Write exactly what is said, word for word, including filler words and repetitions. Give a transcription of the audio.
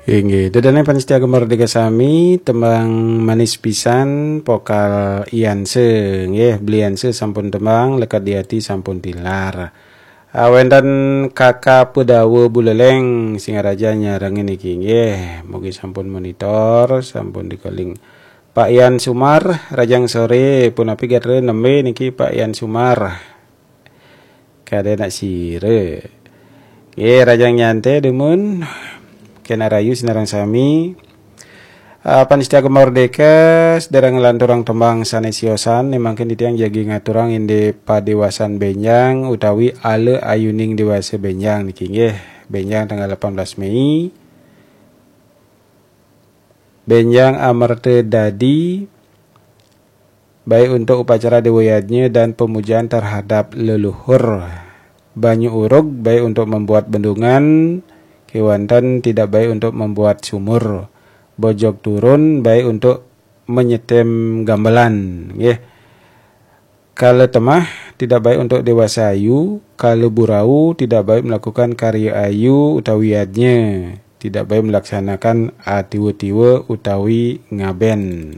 Inggih, ida dané pamiarsa Gema Merdeka sami, tembang manis pisan, vokal Ianse, nggih, Bli Ianse sampun tembang, Lekat di Hati sampun tilar. Ah, wénten Kakak Pedawa Buleleng, Singaraja nyarengin niki, nggih, mugi sampun monitor, sampun dikeling. Pak Ian Sumar, rahajeng soré, punapi gatra nembé niki Pak Ian Sumar. Kadé nak sira. Nggih, rahajeng nyantai dumun. Kena rahayu sinareng sami. Ah, pamiarsa Gema Merdeka, sadéréng nglanturang tembang sané siosan, né mangkin titiang jagi ngaturang indik padéwasan bénjang utawi ala ayuning déwasa bénjang niki nggih. Bénjang tanggal delapan belas Mei. Bénjang Amerta Dadi, baik untuk upacara Dewa Yadnya dan pemujaan terhadap leluhur. Banyu Urug, baik untuk membuat bendungan, kéwanten tidak baik untuk membuat sumur. Bojog Turun, baik untuk menyetem gamelan, nggih. Kala Temah, tidak baik untuk déwasa ayu. Kala Burau, tidak baik melakukan karya ayu utawi yadnya. Tidak baik melaksanakan atiwa-tiwa utawi ngabén.